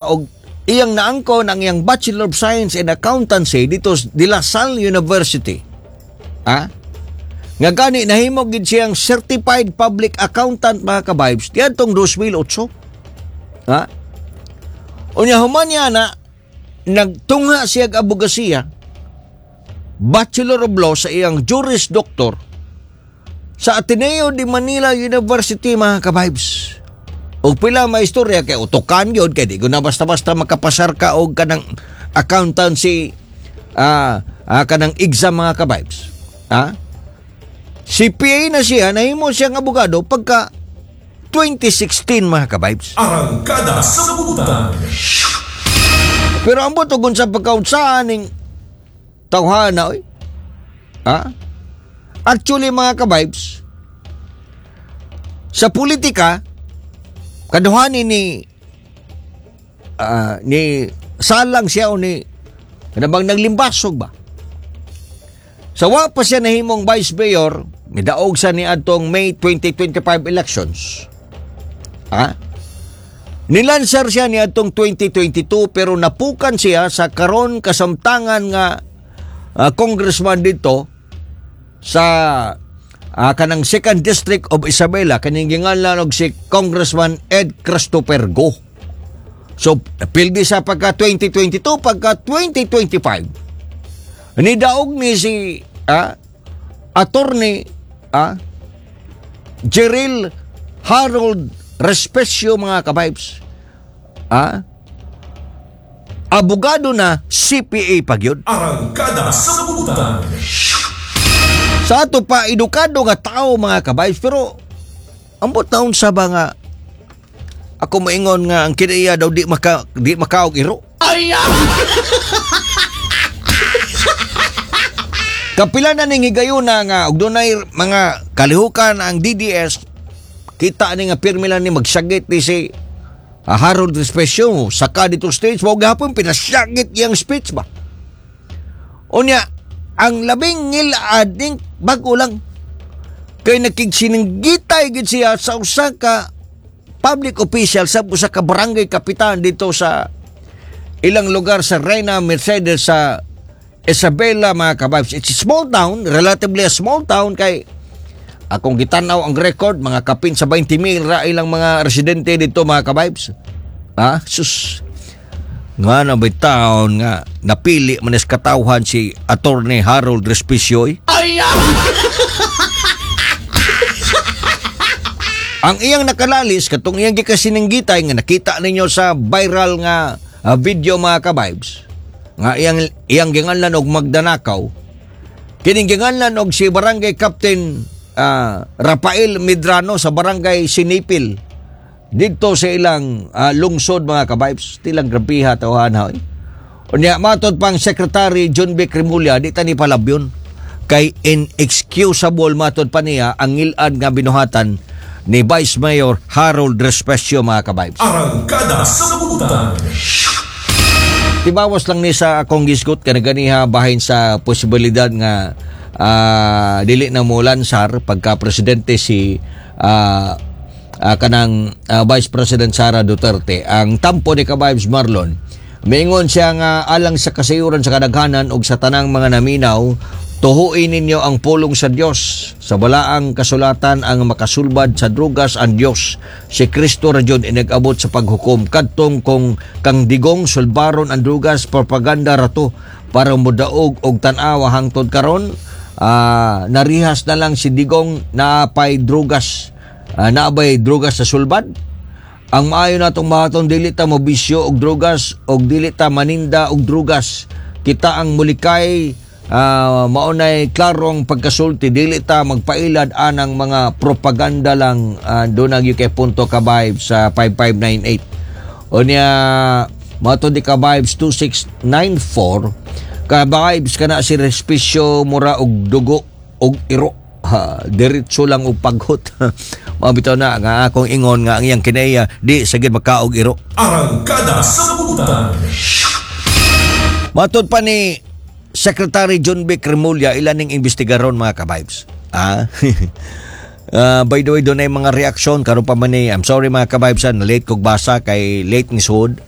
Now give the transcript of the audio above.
Og iyang naangkon ang iyang Bachelor of Science in Accountancy dito sa De La Salle University. Ah? Nga gani nahimo gid siyang certified public accountant, mga ka-vibes, diadtong 2008. Ha? Unya human niya na nagtungha siya og abogasiya, Bachelor of Law sa iyang Juris Doctor sa Ateneo de Manila University, mga ka-vibes. Og pila may istorya kay utukan gyud kay di ko na basta-basta makapasar ka og kanang accountancy kanang exam, mga ka-vibes. Ha? CPA na siya, nahimo siyang abogado pagka 2016, mga ka-vibes. Arangkada sa Butang. Pero ambot og unsa pagkaunsaan ning tawhana oy. Ha? Actually, mga ka-vibes, sa politika kaduhani ni salang siya o ni kanabang naglimbasog ba. Sa wa pa siya nahimong vice mayor, midaog sa ni adtong May 2025 elections. Ha? Nilansar siya ni adtong 2022 pero napukan siya sa karon kasamtangan nga congressman dito sa kanang second district of Isabela, kaning ginganlan og si Congressman Ed Christopher Go. So pildi sa pagka 2022, pagka 2025 nidaog ni si attorney Jeril Harold Respecio, mga ka-vibes. Abogado na, CPA pa gyud. Arangkada sa Butang. Sa ato pa edukado nga tao, mga ka-vibes, pero ambot taon sa ba nga ako maingon nga ang kinaiya daw di makaog iro. Ay! Kapila na ning higayuna nga og dunay mga kalihukan ang DDS, kita ni nga pirmi lang ni magsagit ni si Harold Respecio saka dito stage mao gihapon pinasagit iyang speech ba. Unya ang labing ngilad ning bag-o lang kay nakigsininggitay gid siya sa usa ka public official, sa usa ka barangay kapitan dito sa ilang lugar sa Reina Mercedes sa Isabela, mga ka-vibes. It's a small town, relatively a small town kay akong gitanaw ang record, mga kapin sa 20 mil ra ilang mga residente dito, mga ka-vibes. Ah, sus. Nga na may taon nga napili man is katawhan si Attorney Harold Respicio. Eh. Ang iyang nakalalis katong iyang gikasinanggitay nga nakita ninyo sa viral nga video, mga ka-vibes, nga iyang iyang ginganlan og magdanakaw, kining ginganlan og si barangay captain Rafael Medrano sa barangay Sinipil didto sa ilang lungsod, mga ka-vibes. Tilang grabiha tawhan ha. Unya matod pang Secretary John B. Remulla, di ta ni palabyon kay inexcusable matod pa niya ang ngilad nga binuhatan ni Vice Mayor Harold Respecio, mga ka-vibes. Arangkada sa Butang. Tibawas lang ni sa akong gisgot kanaganiha bahin sa posibilidad nga dili na mo lansar pagka presidente si kanang Vice President Sara Duterte. Ang tampo ni ka-vibes Marlon, mingon siya nga alang sa kasayuran sa kadaghanan ug sa tanang mga naminaw, tuhuin ninyo ang pulong sa Dios. Sa balaang kasulatan ang makasulbad sa drugas ang Dios. Si Kristo ra jud inag-abot sa paghukom. Kadtong kung kang Digong sulbaron ang drugas, propaganda ra to para modaog og tan-awa hangtod karon. Narihas na lang si Digong napay drugas. Naabay drugas sa sulbad. Ang maayo natong mahaton, dili ta mobisyo og drugas og dili ta maninda og drugas. Kita ang mulikay, maunay klarong pagkasulti, dili ta magpailad anang mga propaganda lang. Doon ang UK punto ka vibes sa 5598. Unya mato di ka vibes 2694, ka vibes kana si Respisyo mura og dugo og iro. Ha, diretso lang og paghot. Mao bitaw na nga akong ingon nga ang iyang kinaiya di sagid makaog iro. Arangkada sa Butang. Matod pa ni Secretary John B. Remulla, ilan ning investigaron, mga ka-vibes. Ah? By the way, doon ay mga reaksyon karon pa man ni, I'm sorry, mga ka-vibes, na late kog basa kay late ni sud.